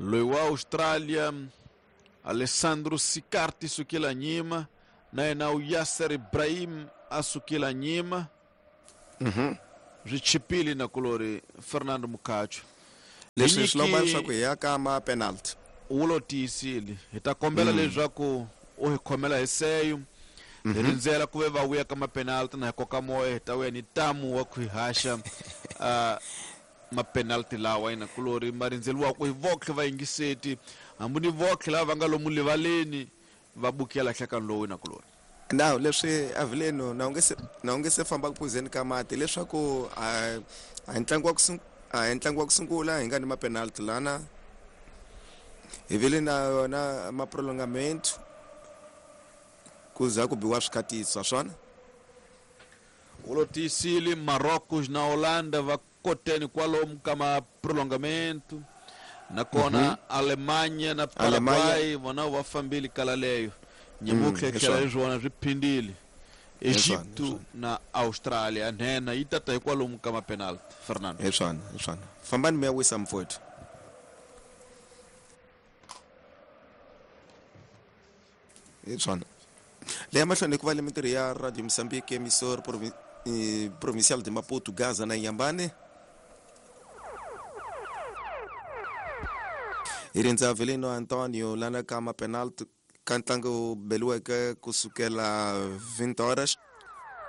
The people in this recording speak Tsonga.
Loyi wa Australia Alessandro Sicarti sukela nyima na yena u Yasser Ibrahim a sukela nyima. Swi chipile na kulori Fernando Mukacho. Leswi swi lomba leswaku hi ya ka ma penalty. Wu lo tiyisile. Hi ta kombela leswaku u hi khomela hi seyo. Hi rindzela ku ve va vuya ka ma-penalty na hi koka moya hi ta vuya ni tamu wa ku hi haxa ma-penalty lawa ina kulori ma rindzeriwaka hi votlhe vayingiseti hambi ni votlhe lava va nga lomu rivaleni va bukela nhlekani lowu ina kulori. Now leswi Avileno na u nge se na u nge se famba ku phuzeni ka mati leswaku a a hi ntlangu wa ku a hi ntlangu wa ku sungula hi nga ni ma-penalty lana hi vile na yona ma-prolongamento ku za ku biwa swikatiso swona. Wu lo tiyisile Marocos na Holanda va koteni kwalomu ka ma-prolongamento nakona Alemanha na Paraguay vona va fambile kala leyo nyemutlhe tlhela hi swona swi phindile Egipto na Australia nhenha yi tata hi kwalomu ka ma-penalty Fernando. Hi swona, hi swona. Fambani mi ya wisa mfowethu. Hi swona. Leya mahlweni ku va le mintirho ya Radio Mozambique emissor provincial de Maputo Gaza na Inhambane. Hi rindza Velino Antonio lana ka ma-penalty ka ntlangu beliweke kusukela 20 horas.